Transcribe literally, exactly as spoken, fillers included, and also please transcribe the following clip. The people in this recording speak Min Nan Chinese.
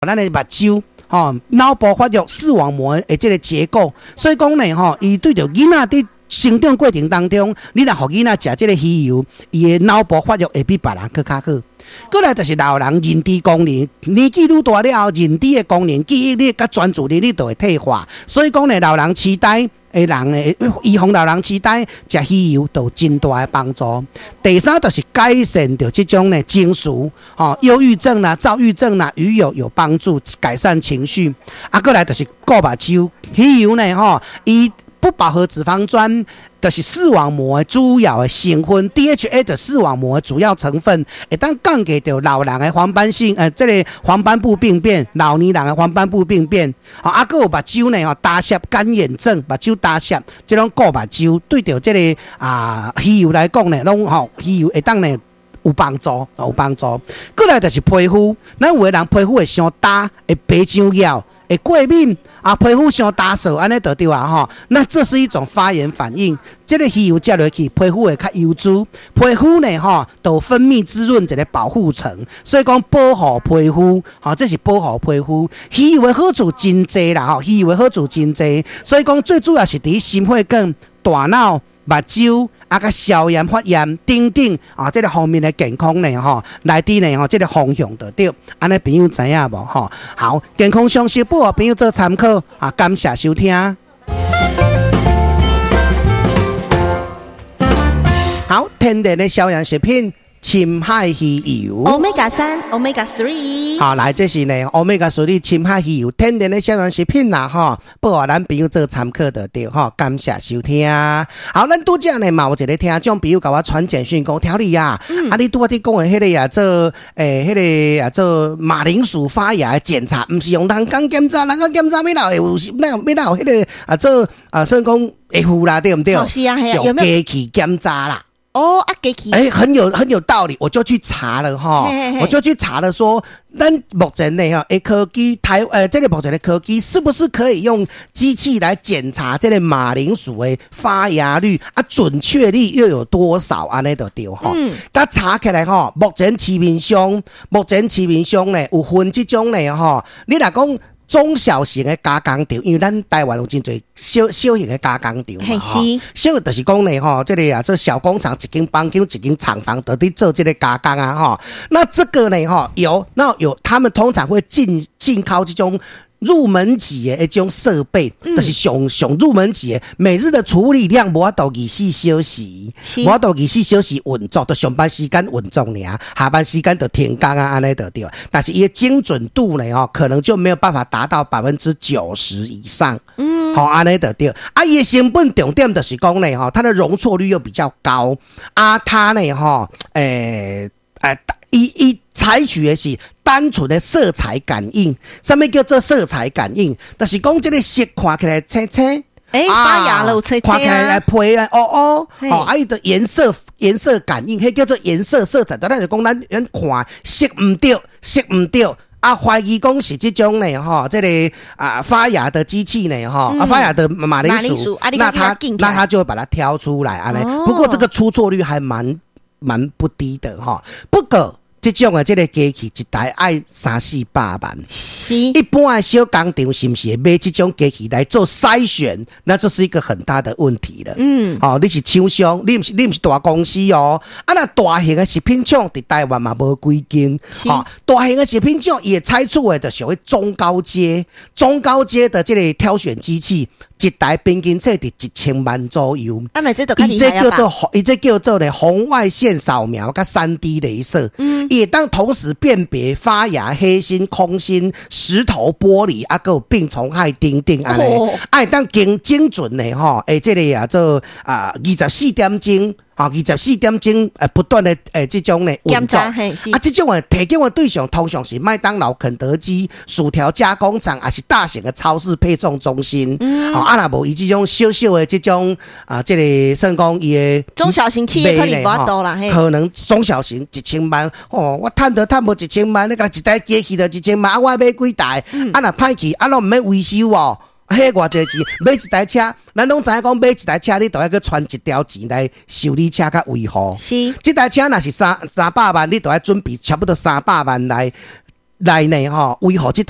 咱的目睭，吼，腦部發育視網膜的這个結構，所以講呢，吼，伊對著囡仔佇成長過程當中，你若予囡仔食這个魚油，伊的腦部發育會比別人閣較好。過來就是老人認知功能，年紀愈大了後，認知的功能、記憶力佮專注力，你都會退化。所以講呢，老人痴呆的人呢，預防老人痴呆，食魚油都有真大的幫助。第三就是改善著這種呢情緒，吼，憂鬱症啦、躁鬱症啦，魚油有幫助改善情緒。啊，過來就是顧目睭，魚油呢，吼，伊不飽和脂肪酸就是視網膜的主要的成分，D H A 的視網膜的主要成分，會當降低著老人的黃斑性，呃，這个黃斑部病變，老年人的黃斑部病變。啊，閣有目睭呢，吼，乾澀乾眼症，目睭乾澀，這種顧目睭，對著這个啊魚油來講呢，攏吼魚油會當呢有幫助，有幫助。過來就是皮膚，咱有的人皮膚會傷焦，會白上蟯，會過敏啊，皮膚傷焦燥，按呢就對啊吼。那這是一種發炎反應。這个魚油食落去，皮膚會較油滋，皮膚呢吼，都分泌滋潤一个保護層，所以講保護皮膚，吼，這是保護皮膚。魚油的好處真濟啦，吼，魚油的好處真濟，所以講最主要是佇心血管、大腦、目睭啊，佮消炎發炎等等啊，這个方面的健康呢，吼，來佇呢吼，這个方向就對。按呢朋友知影無？吼，好，健康常識報予朋友做參考啊，感謝收聽。好，天然的消炎食品。深海魚油，Omega 三，Omega three。好，來，這是呢，Omega three 深海魚油，天然的消炎食品啦，吼，報予咱朋友做參考就對，吼，感謝收聽。好，咱拄才呢嘛有一个聽眾朋友共我傳簡訊講，調理啊，嗯、啊，你拄仔佇講的彼个啊，做欸，彼个啊，做馬鈴薯發芽的檢查，毋是用人工檢查，人工檢查欲哪會有，哪欲哪有彼个啊做啊，算講會有啦，對毋對？哦，是啊，係啊，用機器檢查啦。哦，啊，機器，欸，很有很有道理，我就去查了哈，我就去查了說，咱目前呢哈，科技台呃，這个目前的科技是不是可以用機器來檢查這个馬鈴薯的發芽率啊，準確率又有多少？按呢就對吼。嗯，佮查起來吼，目前市面上，目前市面上呢有分這種呢吼，你若講中小型的加工廠，因為咱台灣有真濟小小型的加工廠嘛，吼，小就是講呢，吼，這个啊，這小工廠，一間房間，一間廠房，都佇做這个加工啊，吼。那這個呢，吼，有那有，他們通常會進進口這種入門級的一種設備，嗯、就是上上入門級的，每日的處理量無法度二十四小時，無法度二十四小時運作，就上班時間運作爾，下班時間就停工啊，按呢就對。但是伊的精準度呢，吼，可能就沒有辦法達到百分之九十以上。嗯，好，按呢就對。啊，伊的成本重點就是講呢，吼，它的容錯率又比較高。啊，它呢，吼，欸，欸，伊伊採取的是單純的色彩感應，啥物叫做色彩感應？就是講這个色看起來青青，欸，發芽了，青青看起來皮啊，烏烏，哦，啊，伊的顏色顏色感應，彼叫做顏色色彩。咱就講咱咱看色毋對，色毋對，啊，懷疑講是這種呢，吼，這个啊發芽的機器呢，吼，啊發芽的馬鈴薯，那它那它就會把它挑出來，按呢。不過這個出錯率還蠻蠻不低的，吼。不過這種的這个機器一台愛三四百萬，是。一般的小工廠是毋是會買這種機器來做篩選？那這是一個很大的問題了。嗯，哦，你是廠商，你毋是你毋是大公司哦。啊，若大型的食品廠佇台灣嘛無幾間。哦，大型的食品廠伊會採取的就屬於中高階、中高階的這个挑選機器，一台平均說佇一千萬左右。啊，咪這就較伊這厲害叫做伊這叫做咧紅外線掃描佮三 D 雷射。嗯。會當同時辨別發芽、黑心、空心、石頭、玻璃，啊，閣有病蟲害等等按呢，啊，會當精精準的吼，欸，這个啊做啊二十四點鐘。啊，二十四點鐘，呃，不斷的欸，這種呢運作，啊，這種的提供的對象通常是麥當勞、肯德基、薯條加工廠，抑是大型的超市配送中心。嗯，啊，若無伊這種小小的這種啊，這个算講伊的中小型企業可能無法度啦，可能中小型一千萬，哦，我趁都趁無一千萬，你共一台機器就一千萬，啊，我買幾台，嗯、啊，若歹去，啊，攏毋免維修哦。彼偌濟錢買一台車，咱攏知影講買一台車，你都愛閣揣一條錢來修理車佮維護。是，這台車若是三三百萬，你都愛準備差不多三百萬來來呢吼，維護這台。